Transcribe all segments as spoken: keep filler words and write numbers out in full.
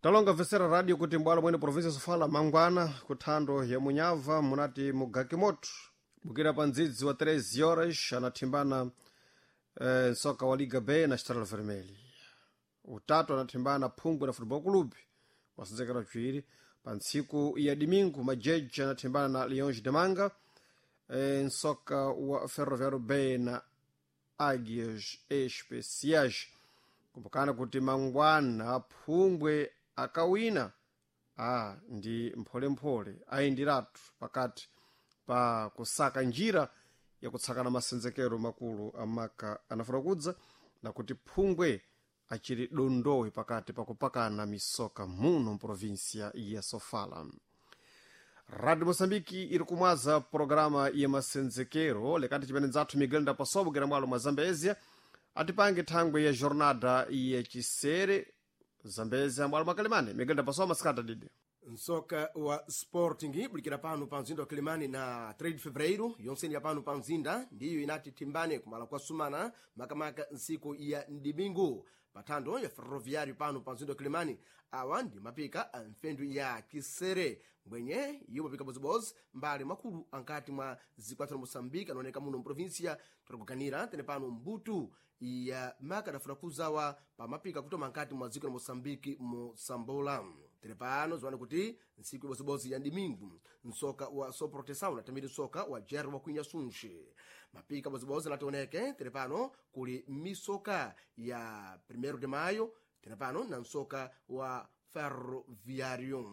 Talonga vesera radio kuti mbwalo mwene provinsia sofala mangwana kuthando ya munyava munati mugakimoto bukira pa ndzidzi wa treze horas anathimbana eh, nsoka wa liga b na Estrela Vermelha. Utatu anathimbana phungwe na Football Club masenzekero chiwiri. Pa ntsiku ya domingo majeji anathimbana na Leões de Manga, eh, nsoka wa Ferroviário B na Águias Especiais. Kumbukana kuti mangwana phungwe akawina a ndi mpholemphole ayindiratu pakati pa kusaka njira yakutsakana masenzekero makulu amaka anafuna kudza na kuti phungwe achiri dondowe pakati pakupakana misoka muno mprovinsia ya Sofala. Radio Moçambique iri kumwaza programa ya masenzekero lekati chimene nzathu Miguel Ndapasobo kera mwalo mwa Zambezia atipange thangwe ya jornada ya chisere Zambezia mwalo mwa Kalimane. Miguel Ndapasobo, masikata didi. Nsoka wa Sporting bulikira pano pa mzinda wa Kilimani na três de Fevereiro yonseni ya pano pa mzinda ndiyo inati timbane kumala kwa sumana makamaka nsiku ya ndimingu pathando ya Ferroviário pano pa mzinda wa Kilimani. Awa ndi mapika a mfendu ya kisere mbwenye iwo mapika bozibozi mbali makulu ankati mwa zikwathu la Moçambique anaoneka muno mprovinsia tikuganira tene pano mbutu ya maka adafuna kuzawa pa mapika kutoma nkati mwa dziko la Moçambique mosambola. Tere pano ziwane kuti ntsiku ibozibozi ya ndimingu nsoka wa Soproteção natamiri nsoka wa Jerry wa Kwinya Sunshi mapika bozibozi anationeke. Tere pano kuli misoka ya primeiro de Maio tere pano na nsoka wa Ferroviário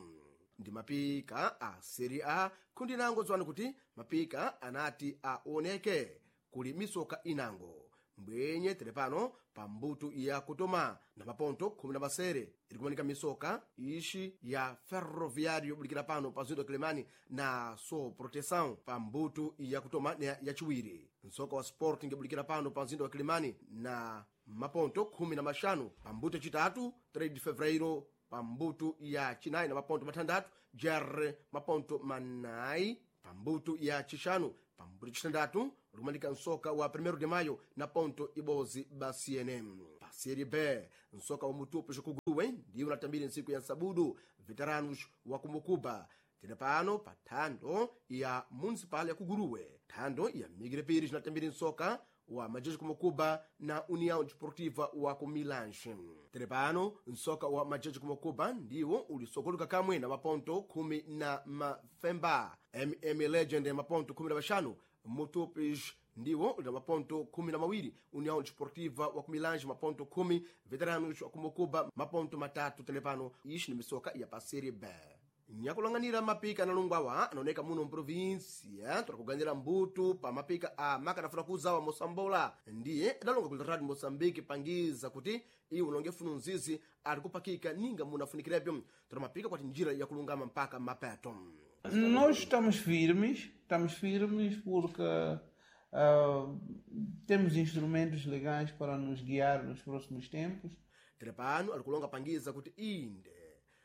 ndi mapika a Serie A kundi nango. Ziwani kuti mapika anati aoneke kuli misoka inango mbwenye tere pano pa mbuto ya kutoma na maponto khumi na masere iri kumanika misoka ixi ya Ferroviário bulikira pano pa zindo Kilimani na So Proteção pa mbuto ya kutoma na yachiwiri. Nsoka wa Sporting bulikira pano pa mzinda wa Kilimani na maponto khumi na maxanu pa mbuto yacitatu, três de Fevereiro pa mbuto ya chinayi na maponto matandatu, Jerre maponto manayi pa mbuto ya chixanu. Pa mbuto chitandatu likumanika nsoka wa primeiro de Maio na ponto ibozi basiene. Pa Série B nsoka wa Mutupo xikuguwe ndiwo unatambire ntsiku ya nsabudu Veteranos wa Kumukuba tene pano pa thando ya Municipal ya Kuguruwe. Thando ya Migrepiri cinatambire nsoka wa Majeji Kumukuba na União Desportiva wa Kumilanche. Tere pano nsoka wa Majeji Kumukuba ndiwo ulisokoluka kamwe na maponto khumi na mafemba, M M Legend maponto khumi na maxanu, Mutupis ndiwo uli na maponto khumi na mawiri, União Desportiva wa Kumilange maponto khumi, Veteranos wa Kumukuba maponto matatu. Tere pano ixi ni misoka ya pa Série B. Nyakulang'anira mapika analungwawa anaoneka muno mprovinsia tirakuganira mbuto pa mapika a makanafuna kuzawa mosambola ndiye adalonga ku Radio Moçambique pangiza kuti iwo unonge funu nzizi ali kupakika ninga munafunikirebyo tira mapika kwati njira yakulungama mpaka mapeto. Nós estamos firmes, estamos firmes porque ah, temos instrumentos legais para nos guiar nos próximos tempos. Tere pano ali kulonga pangiza kuti inde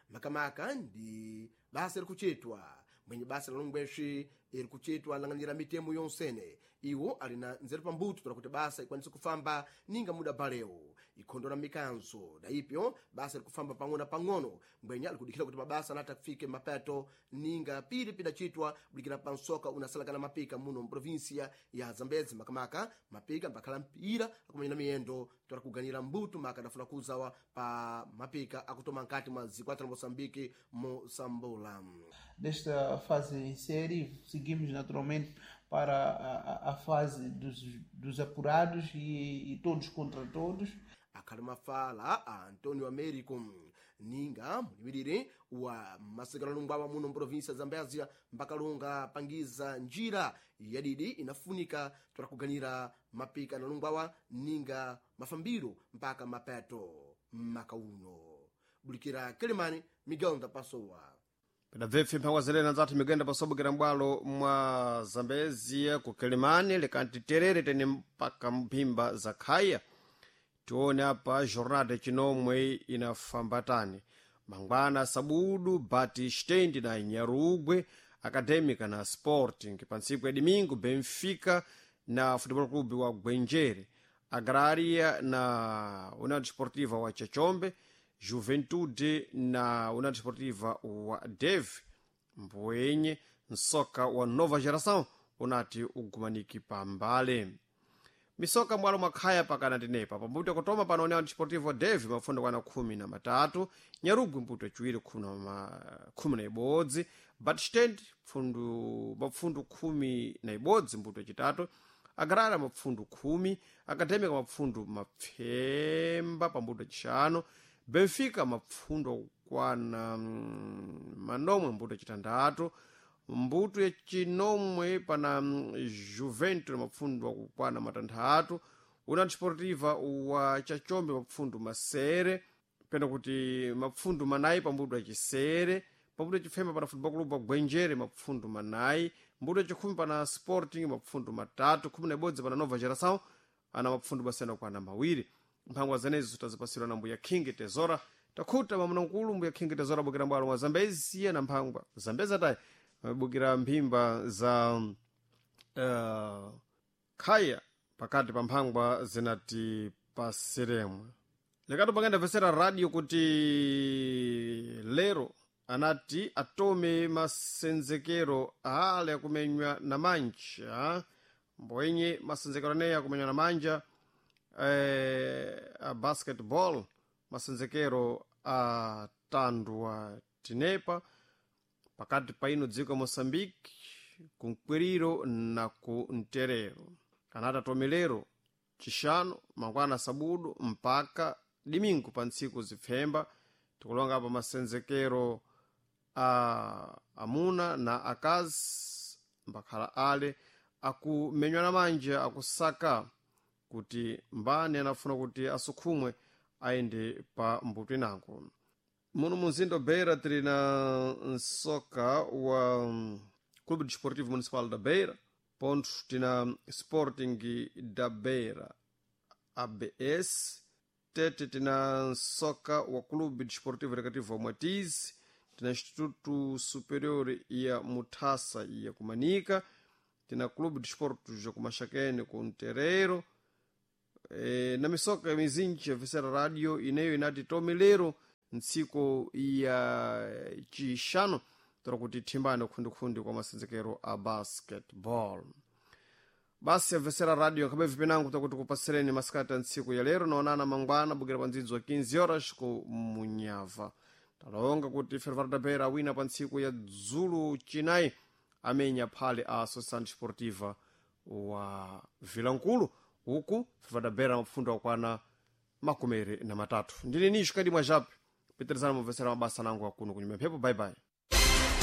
makamaka ndi basa iri kuchitwa mwenye basa la longweshi iri kuchitwa lang'anira mitemo yonsene iwo ali na nzeru pambuto tola kuti basa ikwanise kufamba ninga muda balewo ikhondola mikanzo na ipyo basa iri kufamba pang'ono na pang'ono mbwenya ali kudikhira kuti mabasa anati afike mapeto ninga pili pidachitwa bulikira pa nsoka unasalakana mapika muno mprovinsia ya Zambezi makamaka mapika mbakhala mpira akumenya miyendo tola kuganira mbuto maka adafuna kuzawa pa mapika akutoma nkati mwa zikwata la Moçambique mosambola. Desta fase em série, seguimos naturalmente para a, a- a fase dos, dos apurados e, e todos contra todos. Akhali mafala a Antonio Américo ninga mulimirire wa masekanalungwawa muno mprovinsia ya Zambezia mbakalunga pangiza njira yadidi inafunika tola kuganira mapika analungwawa ninga mafambiro mpaka mapeto maka uno. Bulikira Kilimani, Miguel Ndapasowa. Pedabvepfe mphango zelena nzathu migenda pasobokera m'bwalo mwa Zambezia ku Kilimani lekanti terere tene mpaka mphimba za khaya tione apa jornada chinomwe inafambatani. Mangwana sabudu Batistendi na Nyarugwe Acadêmica na Sporting. Pa ntsiku ya domingo Benfica na Futebol Clube wa Gwenjere, Agraria na União Desportiva wa Chachombe, Juventude na União Desportiva wa Dev. Mboenye nsoka wa Nova Geração unati ugumaniki pambale. Misoka mwalo mwakhaya pakana tinepa pambuto kutoma pano União Desportiva Dev mafundo kwana khumi na matatu, Nyarugwi mbuto chiwiri khumi na ma- khumi na ibodzi, Batstand pfundu mapfundu khumi na ibodzi mbuto chitatu, Agrara mapfundu khumi, Acadêmica mapfundu mapfemba pambuto chishanu, Benfica mapfundu akukwana mm, manomwe mbuto chitandatu, mbuto yachinomwe pana mm, Juventus mapfundu akukwana matanthatu, União Desportiva wa Chachombe mapfundu masere pena kuti mapfundu manayi pambuto achisere, pambuto achifemba pana Football Club wa Gwenjere mapfundu manayi, mbuto achikhumi pana Sporting mapfundu matatu, khumi na ibodzi pana Nova Geração ana mapfundu basena kwana mawiri. Mphangwa zenezo tazipasidwa na mbuya King Tezora. Takhuta mamuna mkulu mbuya King Tezora bukira mbwalo mwa Zambezi na mphangwa Zambezi atayi bukira mphimba za uh, khaya pakati pa mphangwa zinati pasiremwe. Lekatu pakenda vesera radio kuti lero anati atome masenzekero ale akumenywa na manja, mbwenye masenzekero aneyi akumenywa na manja eh, a basketball, masenzekero a tandwa tinepa pakati pa ino dziko ya Moçambique kumkwiriro na ku mterero. Anati atome lero chishanu mangwana sabudu mpaka dimingu pa ntsiku zipfemba. Tikulonga apa masenzekero a amuna na akazi mbakhala ale akumenywa na manja akusaka kuti mbani anafuna kuti asukhumwe ayende pa mbuto inango. Muno munzinda Beira tili na nsoka wa mm, Clube Desportivo Municipal da Beira, ponto tina Sporting da Beira A B S, tete tina nsoka wa Clube Desportivo Recreativo wa Mwatizi, tina Instituto Superior ya Mutasa ya Kumanika, tina Clube Desporto ya Kumaxakene ku Nterero, e, na misoka mizinji ya Vesera Radio ineyo inati tome lero ntsiku ya chishanu tora kuti thimbane khundikhundi kwa masenzekero a basketball. Basi yabvesera radio nkhabe vipinango takuti kupasireni masikati a ntsiku ya lero naonana mangwana bukira pa ndzidzo wa quinze horas ku Munyava. Talonga kuti Ferroviário da Beira awina pa ntsiku ya dzulu chinayi amenya phale a Associação Desportiva wa Vilankulu, uku Ferroviário da Beira mapfundo akwana makumere na matatu. Ndine nisho kadi mwa jape pitirizana mubvesera mabasa nangu akuno kunyuma mphepo. Bye bye.